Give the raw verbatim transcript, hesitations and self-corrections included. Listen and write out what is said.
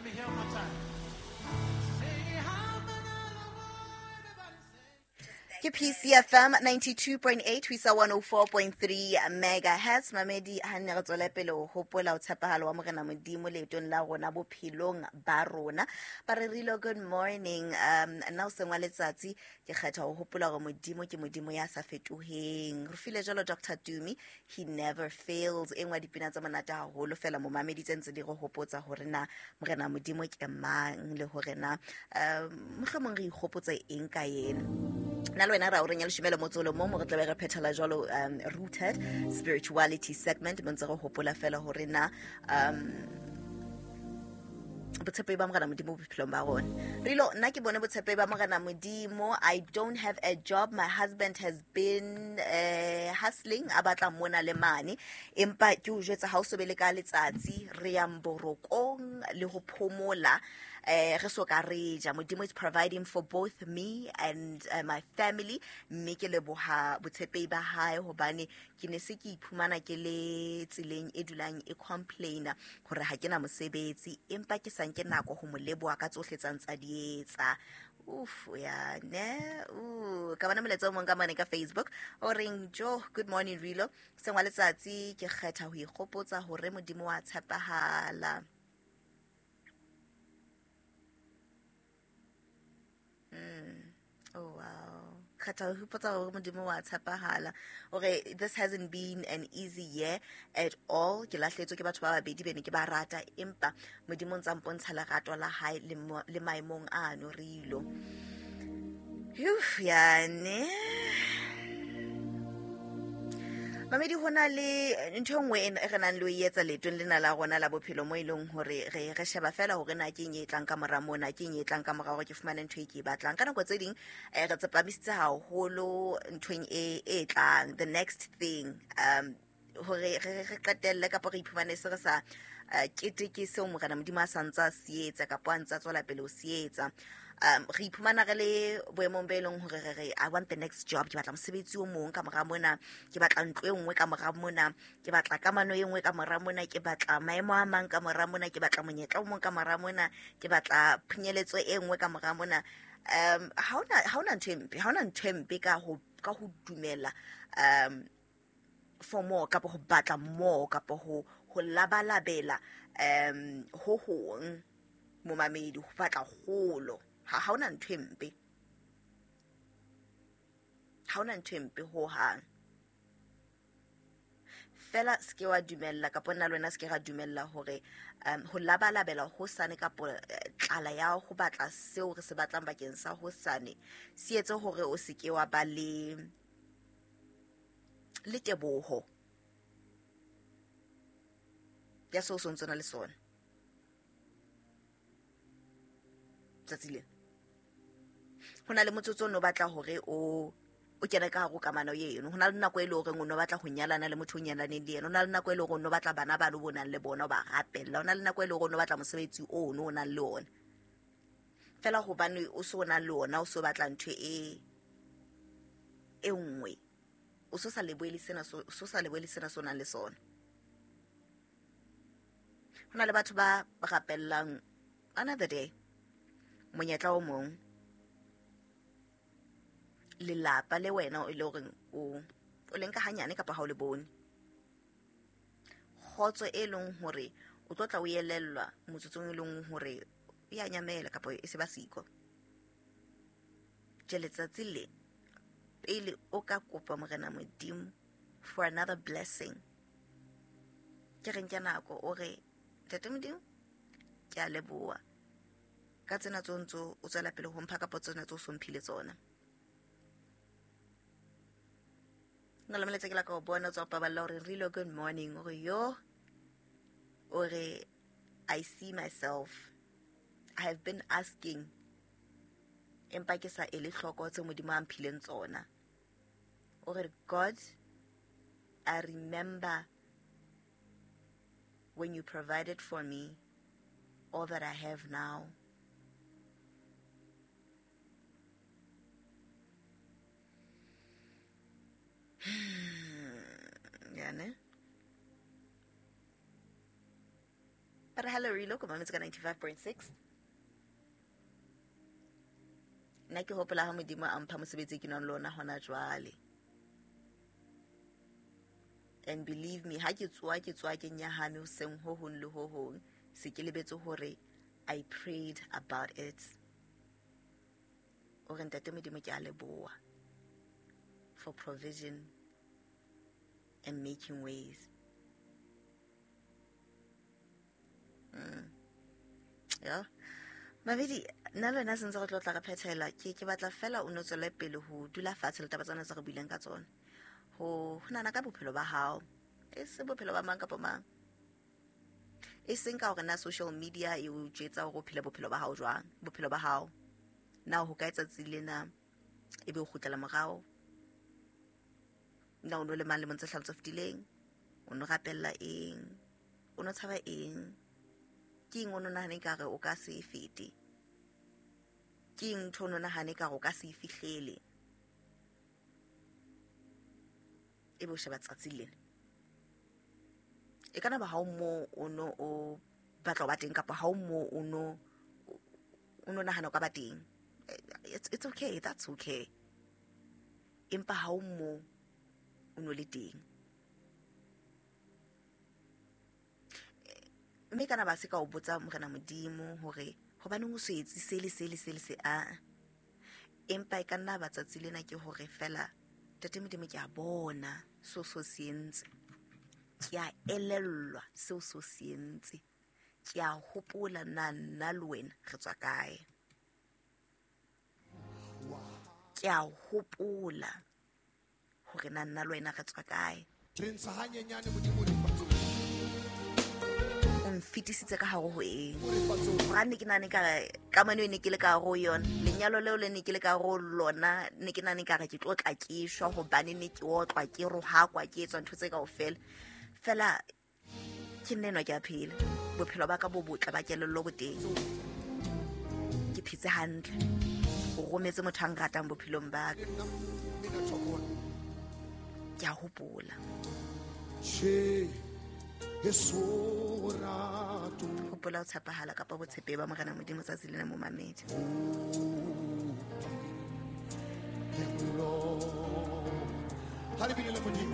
me hear one more time. Say, Ke P C F M ninety-two point eight ho isa one oh four point three megahertz. Mamedi ha nne re tswele pele ho hopola ho tshepahalo wa Morena Modimo leetong la rona bophelong ba rona. Ba re Rilo, good morning. Um, nna o seng wa letsatsi ke kgetha ho hopola hore Modimo ke Modimo ya sa fetoheng. Re file jwalo Doctor Tumi, he never fails. E nngwe ya dipina tse monate haholo fela momamedi tse ntse di re hopotsa hore na Morena Modimo ke mang le hore na, um, mohlomong re ikgopotse eng ka yena. Nna le wena ra o reng ya leshome le motso o le mong, mo re tlabe re phethela jwalo, um, Rooted Spirituality segment, mo ntse re hopola fela hore na, um, botshepehi ba Morena Modimo bophelong ba rona. Rilo, nna ke bone botshepehi ba Morena Modimo. I don't have a job. My husband has been, uh, hustling, a batla mona le mane. Empa ke o jwetsa ha o so be le ka letsatsi, re yang borokong le ho phomola. Eh, re so ka re ja. Modimo is providing for both me and, uh, my family. Mme ke leboha botshepehi ba hae hobane ke ne se ke iphumana ke le tseleng e dulang e complaina hore ha ke na mosebetsi, empa ke sa nke nako ho mo leboha ka tsohle tsa ntsa di etsa. Uf, ya ne, uh, ka bona molaetsa o mong ka mane ka Facebook o reng, Jo, good morning Rilo. Sengwa letsatsi ke kgetha ho ikgopotsa hore Modimo wa tshepahala. Mm. Oh, wow. Kgetha ho ikgopotsa hore Modimo wa tshepahala. Hore this hasn't been an easy year at all. Ke lahlehetswe ke batho ba babedi be ne ke ba rata, empa Modimo o ntsa mpontsha lerato la hae le mo-, le maemong ano, Rilo. Uf, yane. Mamedi, ho na le ntho e nngwe e re nang le ho e etsa leetong lena la rona la bophelo mo e leng hore re, re sheba fela hore na ke eng e tlang ka mora mona, ke eng e tlang ka mora hore ke fumane ntho e ke e batlang. Ka nako tse ding, eh, re tsepamisitse haholo nthong e, e tlang, the next thing, um, hore re, re qetelle kapa re iphumane se re sa, eh, keteke seo Morena Modimo a sa ntsa se etsa kapa a ntsa tswela pele ho se etsa. Um, re iphumana re le boemong be leng hore re re, I want the next job, ke batla mosebetsi o mong ka mora mona, ke batla ntlo e nngwe ka mora mona, ke batla kamano e nngwe ka mora mona, ke batla maemo a mang ka mora mona, ke batla monyetla o mong ka mora mona, ke batla phunyeletso e nngwe ka mora mona. Um, ha hona, ha hona ntho e mpe, ha hona ntho e mpe ka ho, ka ho dumela, um, for more, kapa ho batla more, kapa ho, ho labalabela, um, ho hong, momamedi, ho batla kgolo. Ha, ha hona ntho e mpe. Ha hona ntho e mpe ho hang. Fela se ke wa dumella, kapa nna le wena se ke ra dumella hore, um, ho labalabela hosane kapa, eh, tlala ya ho batla seo re se batlang bakeng sa hosane se etse hore o se ke wa ba le, le teboho ya seo o sontso na le sona tsatsi lena. Ho na le motsotso o no batla hore o, o kene ka hare ho kamano eno. Ho na le nako e le horeng o no batla ho nyalana le motho o nyalaneng le yena. Ho na le nako e le horeng o no batla bana ba lo bo nang le bona, o ba rapella. Ho na le nako e le horeng o no batla mosebetsi oo o no nang le ona. Fela hobane o so nang le ona, o so batla ntho e, e nngwe. O so sa lebohele sena so, o so sa lebohele sena so nang le sona. Ho na le batho ba rapellang another day, monyetla o mong, lelapa le wena o e le horeng o, o le nka hanyane kapa ha o le bone. Kgotso e leng hore o tlo tla o elellwa motsotsong e leng hore e a nyamela kapa e se ba siko. Tje letsatsi le pele o ka kopa Morena Modimo for another blessing, ke re nke nako o re, Ntate Modimo, ke a leboha ka tsena tseo ntso o tswela pele ho mpha kapa tsena tseo o so mphile tsona. Nna le molaetsa ke la ka o bona o tswa Paballo hore Rilo, good morning. O re yo, o re I see myself. I have been asking, empa ke sa ele hloko tse Modimo a mphileng tsona. O re God, I remember when you provided for me all that I have now. Ya ne? Ba re hello re ko mametse ka ninety-five point six. Nna ke hopola ha Modimo a mpha mosebetsi ke nang le ona hona jwale. And believe me, ha ke tsoa ke tsoa ke nyahame hoseng ho hong le ho hong, se ke lebetse hore I prayed about it. O re ntate Modimo ke a leboha for provision and making ways. Mm. Yeah. Mabedi, nna le wena sentse re tlo tla re phethela, ke ke batla fela o no tswele pele ho dula fatshe le taba tsena tse re buileng ka tsona. Ho ho nahana ka bophelo ba hao, e se bophelo ba mang kapa mang. E seng ka hore na social media e o jwetsa hore o phele bophelo ba hao jwang, bophelo ba hao. Na ho ka tsatsi lena e be o kgutlela morao? Na o no le mang lemong tse hlano tse fetileng? O no rapella eng? O no tshaba eng? Ke eng o no nahane ekare o ka se fete? Ke eng ntho o no nahane ekare o ka se fihlele? Ebe o sheba tsatsi lena. E kana ba ha o mo o no o batla ho ba teng kapa ha o mo o no o no nahana o ka ba teng. It's, it's okay, that's okay. Empa ha o mo o no le teng. Mme kana ba se ka o botsa Morena Modimo hore hobaneng o so etse se le se le se le se a. Empa e ka nna ba tsatsi lena ke hore fela Ntate Modimo ke a bona seo so se entse. Ke a elellwa seo so se entse. Ke a hopola na nna le wena re tswa kae. Ke a hopola hore na nna le wena re tswa kae. Re ntsha hanyenyane Modimo lefatsheng. O nfetisitse ka hare ho eng? Hobane ke nahane ekare kamano e ne ke le ka hare ho yona, lenyalo leo le ne ke le ka hare ho lona, ne ke nahane ekare ke tlo tla ke shwa hobane ne ke otlwa, ke rohakwa, ke etswa ntho tse kaofela. Fela ke nna enwa ke a phela. Bophelo ba ka bo botle ba kelello bo teng. Ke phetse hantle. O rometse motho a nratang bophelong ba ka. Ke a hopola. Che. Hopola ho tshepahala kapa botshepehi ba Morena Modimo tsatsi lena mo mamedi. Ha le bile le Modimo.